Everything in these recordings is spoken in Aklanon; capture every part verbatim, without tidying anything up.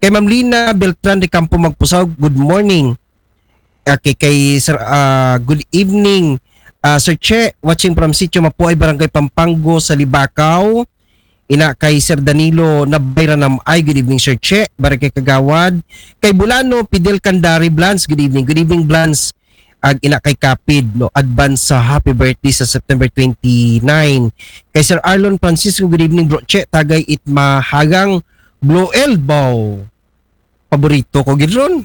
Kay Ma'am Lina Beltran de Campo Magpusaw, good morning. Okay, kay Sir, ah, good evening. Ah, Sir Che, watching from Sitio Mapuay, Barangay Pampanggo, sa Libacao. Ina kay Sir Danilo Nabayra Namay, good evening, Sir Che. Barangay Kagawad. Kay Bulano, Fidel Candari, Blans, good evening. Good evening, Blans. Ag ina kay Kapid, no, advance sa happy birthday sa September twenty-nine. Kay Sir Arlon Francisco, good evening, bro Che. Tagay it mahagang Blue Elbow. Paborito ko gid ron.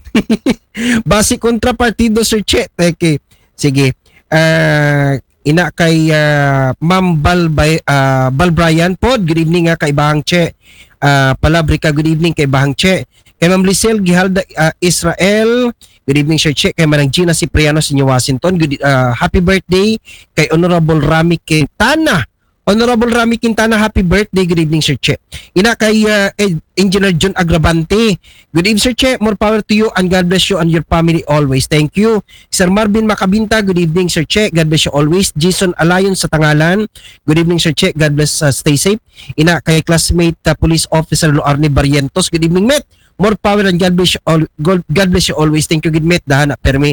Basi kontra partido, Sir Che. Okay. Sige. Ah, ina kay, ah, Ma'am Bal, Bay- ah, Bal Brian pod. Good evening nga kay Bahang Che. Ah, Palabrika, good evening kay Bahang Che. Kay Ma'am Lisel Gihalda, ah, Israel. Good evening, Sir Che. Kay Manang Gina Cipriano, Senior Washington. Good, ah, happy birthday kay Honorable Rami Quintana. Honorable Rami Quintana, happy birthday. Good evening, Sir Che. Ina kay, ah, Ed- Engineer John Agravante. Good evening, Sir Che. More power to you and God bless you and your family always. Thank you. Sir Marvin Macabinta, good evening, Sir Che. God bless you always. Jason Alayon sa Tangalan. Good evening, Sir Che. God bless, uh, stay safe. Ina kay classmate, uh, Police Officer Loarne Barrientos. Good evening, Met. More power and God bless you all. God God bless you always. Thank you, good Met. Dahana permi.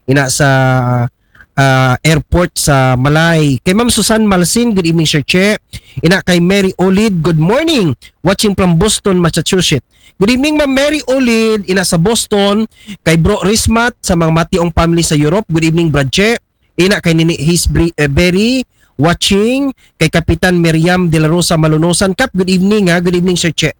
Ina sa, ah, airport sa Malay. Kay Ma'am Susan Malsin, good evening, Sir Che. Ina kay Mary Olid, good morning. Watching from Boston, Massachusetts. Good evening, Ma'am Mary Olid. Ina sa Boston. Kay Bro Rismat, sa mga Mationg family sa Europe. Good evening, Brad Che. Ina kay Nini Hisbri, eh, Berry, watching. Kay Kapitan Miriam De La Rosa Malunosan. Kap, good evening, ha. Good evening, Sir Che.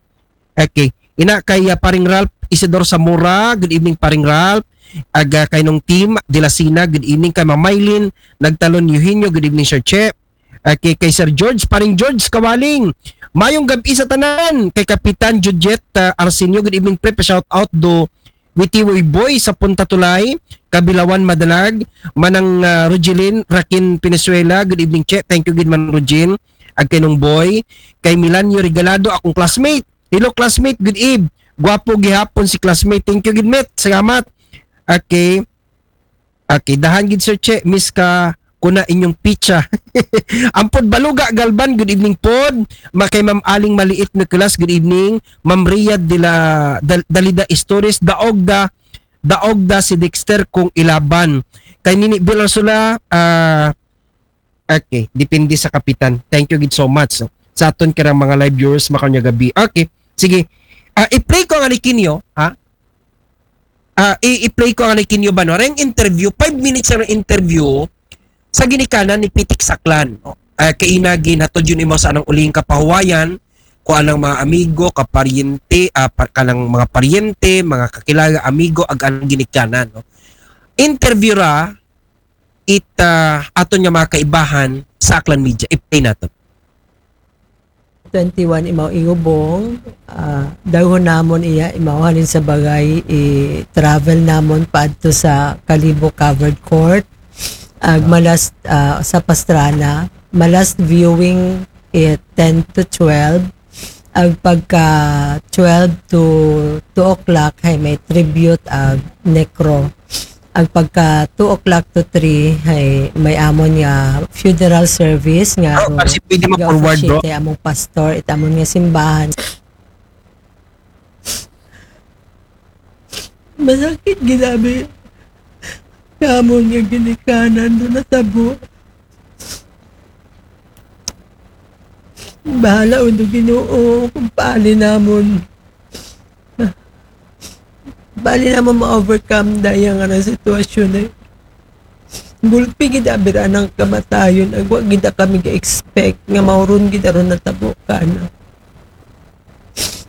Okay. Ina kay, ah, Paring Ralph Isidor Zamora. Good evening, Paring Ralph. Aga kay nung team Dilasina. Good evening kay Ma'am Mylene Nagtalon Eugenio. Good evening, Sir Che. Okay, kay Sir George, Paring George Kawaling. Mayong gabi sa tanan. Kay Kapitan Jujet, ah, Arsenio. Good evening, pre. Pa-shout out do Witiwoy Boy sa Punta Tulay, Kabilawan Madalag, Manang, ah, Rogelin Rakin Pinesuela. Good evening, Che. Thank you, good man Rogelin. Ag kay nung boy. Kay Milanio Regalado, akong classmate. Hello, classmate. Good eve. Gwapo gihapon si classmate. Thank you, good mate. Salamat. Okay. Okay, dahan gid, Sir Che, miss ka ko na inyong pizza. Ampod Baluga Galban, good evening pod. Ma kay Ma'am Aling Maliit Nicolas, good evening. Ma'am Rhea de la Dal- Dalida Istores, daog da, daog da si Dexter kung ilaban. Kay Nini Bilarsula, ah, okay, depende sa kapitan. Thank you gid so much. So, sa aton karang mga live viewers, makanya gabi. Okay, sige. Ah, i-play ko ang alikinyo, ha? Ah, i- i-play ko ang alikinyo ba, no? Reng interview, five minutes ang interview sa ginikanan ni Pitik Saklan, no? Ah, kaina ginhatod yun imo sa anang uling kapahuwayan, ko anang mga amigo, kaparyente, ah, pa- kanang mga paryente, mga kakilala, amigo, ag anang ginikanan, no? Interview ra, it, ah, aton nga mga kaibahan sa Aklan Media. I-play nato. Twenty-one imaw iubong, ah, dawhon namon iya, imaw halin sa bagay, i-travel namon paadto sa Kalibo Covered Court. Ag malas, ah, sa Pastrana, malas viewing, eh, ten to twelve. Ag pagka twelve to two o'clock, hay may tribute ag necro. Ag pagka two o'clock to three, hay may amon nga funeral service nga Oh, kasi pwede ma-forward, bro. Kay among pastor, it amon nga simbahan. Masakit ginabi. Kamon nga ginikanan do natabo. Bahala undo Ginoo kung paali namon. Paali namon ma-overcome daya nga na sitwasyon eh. Gulpi gid abira ng kamatayon, agwa gid kami ga-expect nga mauron gid aron natabo kana.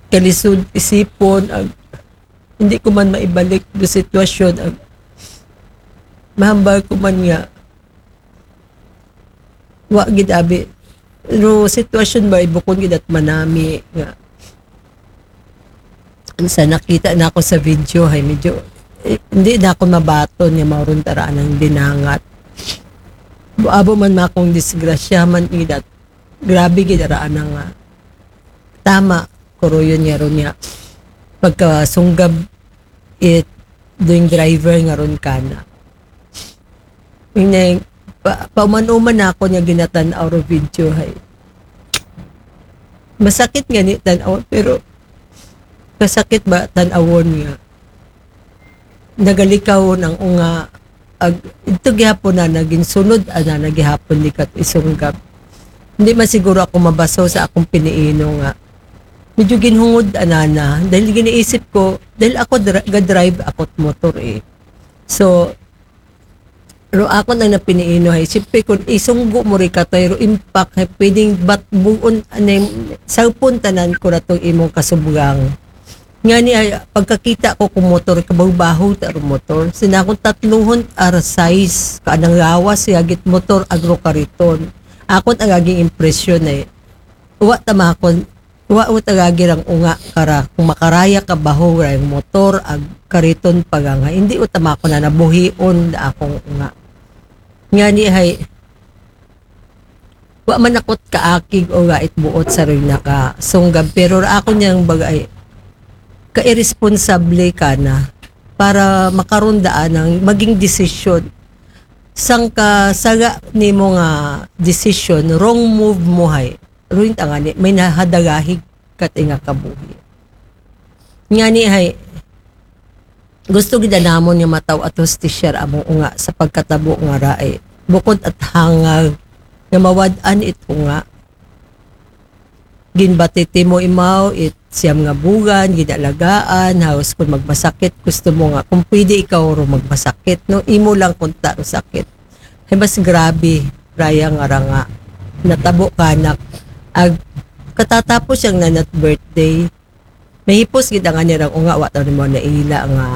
Kalisod isipon, ag, hindi ko man maibalik do sitwasyon, ag, mahambal ko man nga wa gid abi. No sitwasyon ba, ibukon gid at manami nga sa nakita na ako sa video, hay medyo, eh, hindi na ako mabaton nga mauron tara ng dinangat. Abo man makong disgrasya man gid at grabe gid ara nga tama, kuruyon nga ron nga pagkasunggab it doing driver nga ron kana. Ineng, pa, pauman-uman na ako niya ginatan-aw ro video hay. Masakit nga ni tan-aw, pero kasakit ba tan-awon nga nagalikaw ang unga, ag ito gihapon na naging sunod, ana na gihapon ni kat isunggab. Hindi man siguro ako mabaso sa akong piniino nga medyo ginhungod anana dahil giniisip ko, dahil ako dra- ga-drive ako't motor eh. So, ro ako nang napiniino hay, siyempre kung isunggo mo rin katoy, ro impact hay, pwedeng bat buon, anay, saupon tanan ko ratong imong kasubgang. Nga ni ay, pagkakita ko kung motor, kabaho-baho ta ro motor. Sina akong tatluhon ar size, kaanang lawas, yagit motor, agro kariton. Akon ang aging impresyon ay, wa tamakon, wa o tagagi rang unga kara, kung makaraya ka baho rang motor, ag kariton paganga, hindi o tamakon na nabuhion da akong unga. Nga ni hay, wa man akot kaakig o gait buot sa rin nakasunggab, pero ra ako niyang bagay, ka-irresponsable ka na para makarundaan ng maging desisyon. Sang kasaga nimo nga decision, wrong move mo hay. Ruin tangani, may nahadagahig kat nga kabuhi. Nga ni hay, gusto gid namon nga mataw at hustisya among unga sa pagkatabo nga raay. Bukod at hangag nga mawad-an it unga. Ginbatiti mo imaw it siyam nga bugan, ginalagaan, haos kung magmasakit, gusto mo nga, kung pwede ikaw ro magmasakit, no? Imo lang kung ta ro sakit. Hay mas grabe, raya nga ranga. Natabo kanak, ag katatapos siyang nanat birthday, mahipos gid ang anirang unga, wa ta mo naila nga,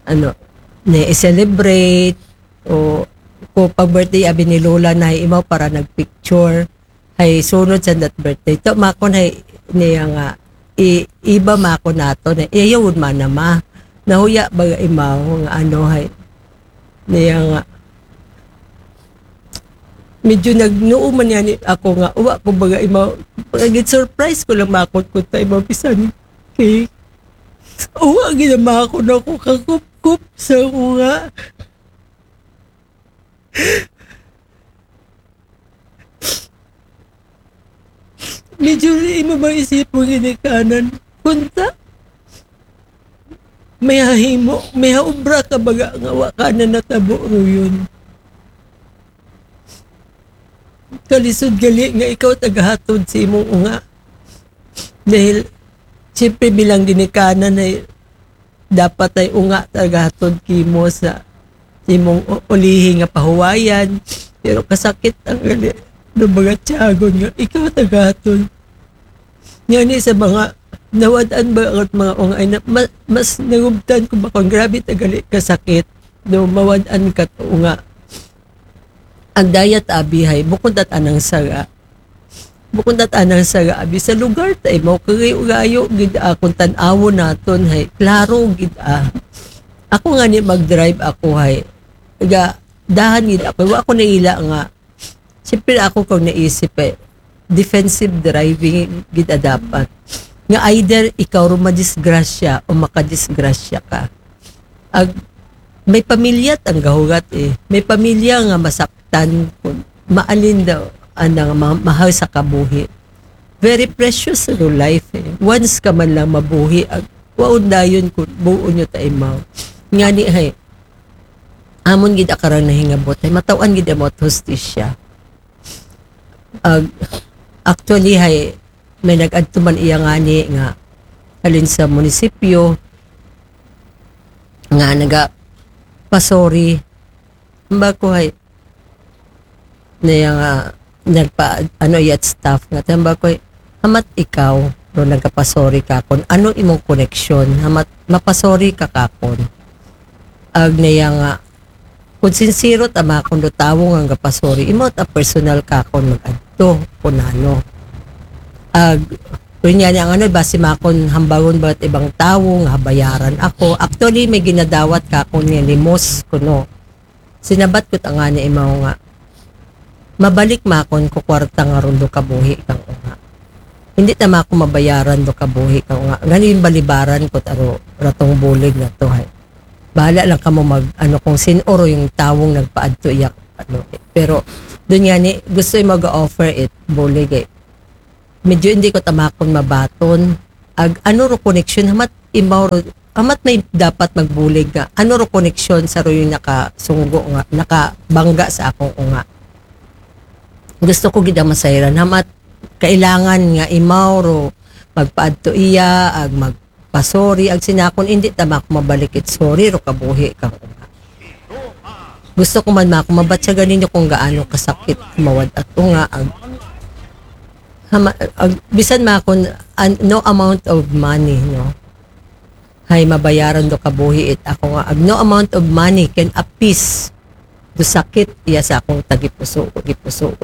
ano, na-celebrate, o ko pag birthday abi ni Lola na imaw para nagpicture. Hay sunod sa that birthday. To makon hay niya nga i, iba makon nato na iyawon man na ma. Nahuya ba imaw nga ano hay niya nga medyo nagnuo man yan ako nga uwa ko baga imaw pagit surprise ko lang makon ko ta imaw pisan kay uwa ginamakon ako kakupkup sa ko nga medyo imo ba isip mo ginikanan kunta may hahimo may haubra ka baga nga wa ka na natabo ruyon kalisod gali nga ikaw tagahatod sa imong unga dahil siyempre bilang ginikanan ay dapat ay unga tagahatod kimo sa imong ulihi nga pahuwayan pero kasakit ang gali ng mga tiyagon nga ikaw tagahatod nga ni sa mga nawadan ba ang mga unga ay na, ma, mas nagubtan ko ba kung grabe tagali kasakit no mawadan ka unga ang dayat abihay bukod at anang saga bukod at anang saga abi sa lugar ta imaw kagayo-gayo gid akong tan-awon naton hay klaro gid ah ako nga ni mag-drive ako hay ga dahan gid ako wa ako naila nga siyempre ako kung naisip eh defensive driving gid dapat nga either ikaw ro madisgrasya o makadisgrasya ka ag may pamilya ang gahugat eh may pamilya nga masaktan kun maalin daw anang ma- mahal sa kabuhi very precious sa life eh once ka man lang mabuhi ag waon dayon kun buo nyo ta imaw ngani hay amon gid akarang nahingabot hay mataw-an gid amot hustisya ag actually hay may nag-adto man iya ngani nga halin sa munisipyo nga naga pasori ba ko hay na iya nga nagpa ano iyat staff nga tamba ko hamat ikaw ro nagkapasori kakon ano imong koneksyon hamat mapasori ka kakon ag na iya nga kung sincero ta makon do tawo nga gapasori imo ta personal kakon mag-adto kun ano ag Unya niya ang ano, basi makon hambagon ba't ibang tawo nga habayaran ako. Actually, may ginadawat ka ako niya limos kuno. Sinabat ko tanga niya imaw nga. Mabalik makon ko kwarta nga rundo kabuhi kang unga. Hindi tama ako mabayaran do kabuhi kang unga. Gani yung balibaran ko taro ratong bulig na to. Hay. Bahala lang kamo mag ano kung sinoro yung tawong nagpaadto iyak ano. Pero doon nga ni gusto yung mag-offer it bulig eh. Medyo hindi ko tamakon mabaton. Ag ano ro connection, hamat imaw ro, hamat may dapat magbulig nga ano ro connection sa ro yung nakasunggo nga, nakabangga sa akong unga. Gusto ko gid ang masayran, hamat kailangan nga imaw ro magpaadto iya, ag magpasori, ag sinakon, hindi ta mako mabalik it sorry ro kabuhi kang unga. Gusto ko man mako mabatyagan ninyo kung gaano kasakit mawad-at unga, ag, hama, ag, bisan makon an, no amount of money, no, hay mabayaran do kabuhi it ako nga, ag, no amount of money can appease do sakit iya sa akong tagipuso, gipuso.